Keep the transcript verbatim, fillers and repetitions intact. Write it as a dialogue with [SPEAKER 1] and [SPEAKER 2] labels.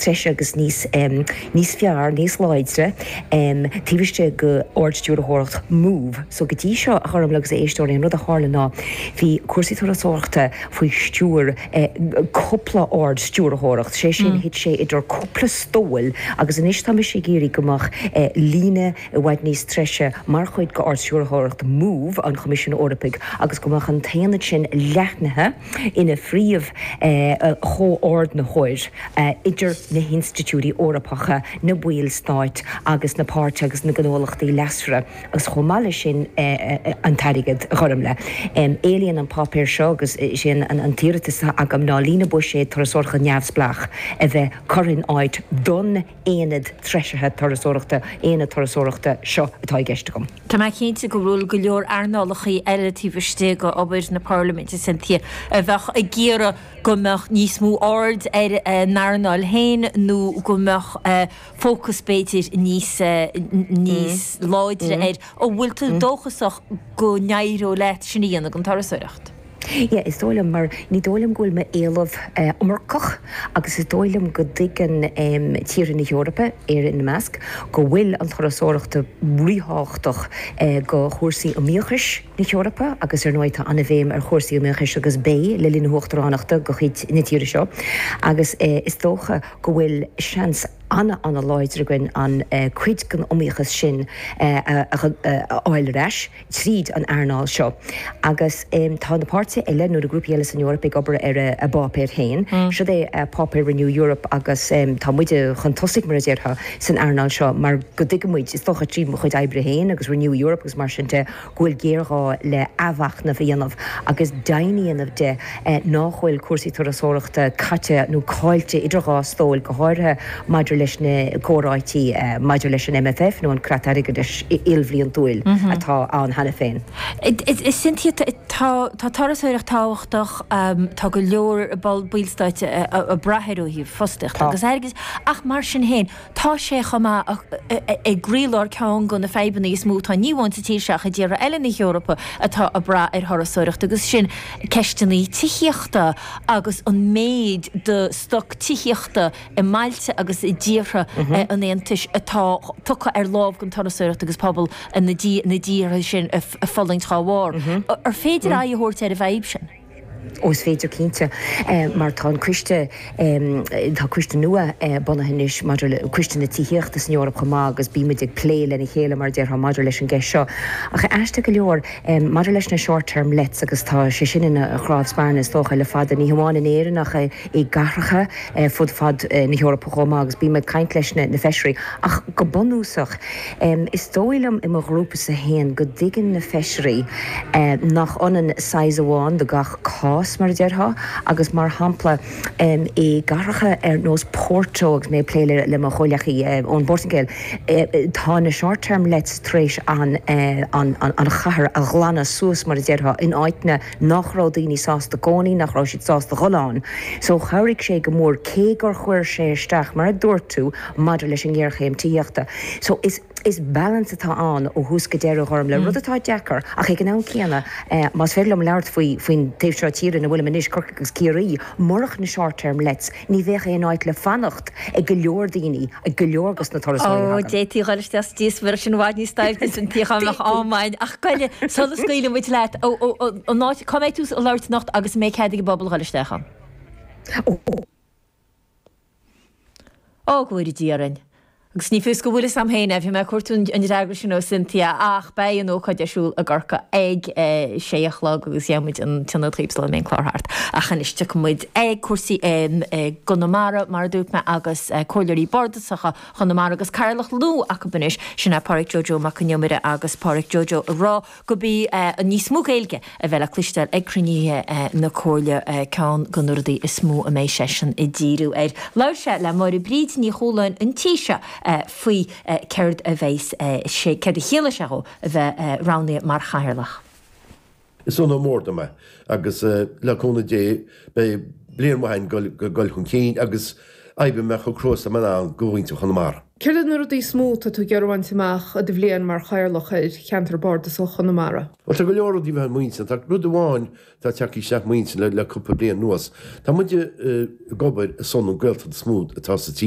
[SPEAKER 1] treise agus níos níos fearr, níos láidre taobh istigh de Ard-Stiúrthóireacht MOVE. So go dtí seo a Ghormfhlaith agus a éisteoirí an rud a tharla ná bhí cúrsaí turasóireachta faoi stiúir cúpla ard-stiúrthóireacht, sé sin thit sé idir cúpla stól agus anois tá mise ag iarraidh go mbeadh líne i bhfad níos treise mar chuid de Ard-Stiúrthóireacht MOVE an Choimisiúin Eorpaigh agus go mbeadh an t-aonad sin leathnaithe ina phríomh chomhordaitheoir idir na hinstitiúidí Eorpacha, na ballstáit agus na páirtithe agus na gnólachtaí leasmhara agus chomh maith leis sin an t-airgead a Ghormfhlaith. Éilíonn an páipéar seo agus sin an t-iarratas agam ná líne buiséid turasóireachta neamhspleách a bheith curtha in áit don aonad treisithe turasóireachta aonad turasóireachta seo atá i gceist agam.
[SPEAKER 2] Tá mé cinnte go bhfuil go leor earnálacha eile taobh istigh d'obair na Parlaiminte Cynthia a bheadh ag iarraidh go mbeadh níos mó aird ar an earnáil féin nó go mbeadh fócas b'fhéidir níos níos láidre air an bhfuil tú dóchasach go n-éireoidh leat sin a dhéanamh don turasóireacht.
[SPEAKER 1] Yeah, is dóigh liom mar ní dóigh liom go bhfuil m'éileamh iomarcach agus is dóigh liom go dtuigeann tíortha na hEorpa Éire ina measc go bhfuil an turasóireacht ríthábhachtach do chúrsaí iomaíochais na hEorpa agus ar ndóigh tá an-bhéim ar chúrsaí iomaíochais agus beidh le linn na huachtaránachta de chuid na tíre seo agus is dócha go bhfuil seans an-an-láidir againn an cuid den iomaíochas sin a fháil ar ais tríd an earnáil seo. Agus tá na páirtithe eile nó na grúpaí eile san Eoraip ag obair ar a bpáipéir féin. Seo é páipéar Renew Europe agus tá muide chun tosaigh mar a déarfá san earnáil seo mar go dtuigimid is dócha trí mo chuid oibre féin agus Renew Europe agus mar sin de go bhfuil géarghá le athmhachnamh a dhéanamh agus deimhin a dhéanamh de nach bhfuil cúrsaí turasóireachta caite nó caillte idir dhá stól go háirithe maidir leis na comhráití maidir leis an MFF nó an creat airgeadais ilbhliantúil atá ann cheana féin.
[SPEAKER 2] Cynthia tá turasóireacht tábhachtach tá go leor ballstáit ag brath air ó thaobh fostaíocht agus airgid ach mar sin féin tá sé chomh maith i gcroílár ceann de na fadhbanna is mó atá ní amháin sa tír seo ach i dtíortha eile na hEorpa atá ag brath ar thurasóireacht agus sin ceisteanna tithíochta agus an méid de stoc tithíochta i mbailte agus i dtíortha an Aontais atá tugtha ar lámh don turasóireacht agus pobal na dtíortha sin ag fulaingt dá bharr. Ar féidir aghaidh a thabhairt ar an bhfadhb sin?
[SPEAKER 1] Ó is féidir cinnte mar tá an coiste tá coiste nua bunaithe anois maidir le coiste na tithíochta san Eoraip chomh maith agus bímid ag plé lena chéile mar déarfá maidir leis an gceist seo. Ach aisteach go leor maidir leis na short-term lets agus tá sé sin ina chnámh spairne is dócha le fada ní hamháin in Éirinn ach i gcathracha fud fad na hEorpa chomh maith agus bím ag caint leis na na feisirí ach go bunúsach is dóigh liom i mo ghrúpa féin go dtuigeann na feisirí nach ionann size amháin do gach cás mar a déarfá agus mar shampla i gcathracha ar nós Porto agus mé plé le le mo chomhghleacaí ón bPortaingéil tá na short-term lets tar éis an an an chathair a ghlanadh suas mar a déarfá in áiteanna nach raibh daoine sásta cónaí nach raibh siad sásta dul ann. So chabhraigh sé go mór cé gur chuir sé isteach mar a dúirt tú maidir leis an ngéarchéim tithíochta. So is is balance atá ann ó thús go deireadh Ghormfhlaith rud atá deacair ach ag an am céanna más féidir liom labhairt faoi faoin taobh seo tíre ina bhfuilim anois Corcaigh agus Ciarraí murach na short-term lets ní bheadh aon áit le fanacht ag go leor daoine ag go leor dos na turasóirí
[SPEAKER 2] Ó d'fhéadfaí dul isteach sa díospóireacht sin i bhfad níos doimhne san tíoch ámáin ach goile sula scaoileann muid leat an áit cá mbeidh tú ag labhairt anocht agus mbeidh cead ag an bpobal dul isteach ann. Ó go bhfóire Dia orainn. Agus ní fios go bhfuil am féin bhí mé cuairtú an fhreagra sin ó Cynthia ach beidh an ócáid ar siúl i gCorcaigh ag sé a chlog agus dhéanfaimid an tionad chuíb sula mbeidh an clár thart. Ach anois tiocfaimid ag cúrsaí Chonamara mar a dúirt mé agus comhairleoirí bardasacha Chonamara agus cathaoirleach nua acu anois sin é Pádraic Joe Joe Mac an Iomaire agus Pádraic Joe Joe ag rá go mbeidh níos mó Gaeilge a bheith le cloisteáil ag cruinnithe na Comhairle ceann de na rudaí is mó a mbeidh seisean ag díriú air. Labhair sé le Máire Bríd Ní Chualáin an tí seo faoi céard a bheas sé céard a chiallaigh sé dhó a bheith roghnaithe mar chathaoirleach.
[SPEAKER 3] Is onóir mór dom é agus le cúnamh Dé beidh bliain mhaith go dul chun cinn agus oibreoidh mé chomh crua is atá mé in ann do mhuintir Chonamara.
[SPEAKER 4] Céard na rudaí is mó atá tú ag iarraidh a bhaint amach i do bhliain mar chathaoirleach ar cheantar bardasach Chonamara.
[SPEAKER 3] Well tá go leor rudaí bheith muinte tá rud amháin tá teacht isteach muinte le le cúpla bliain anuas. Tá muide ag obair ar son an Gaeltacht is mó atá sa tír.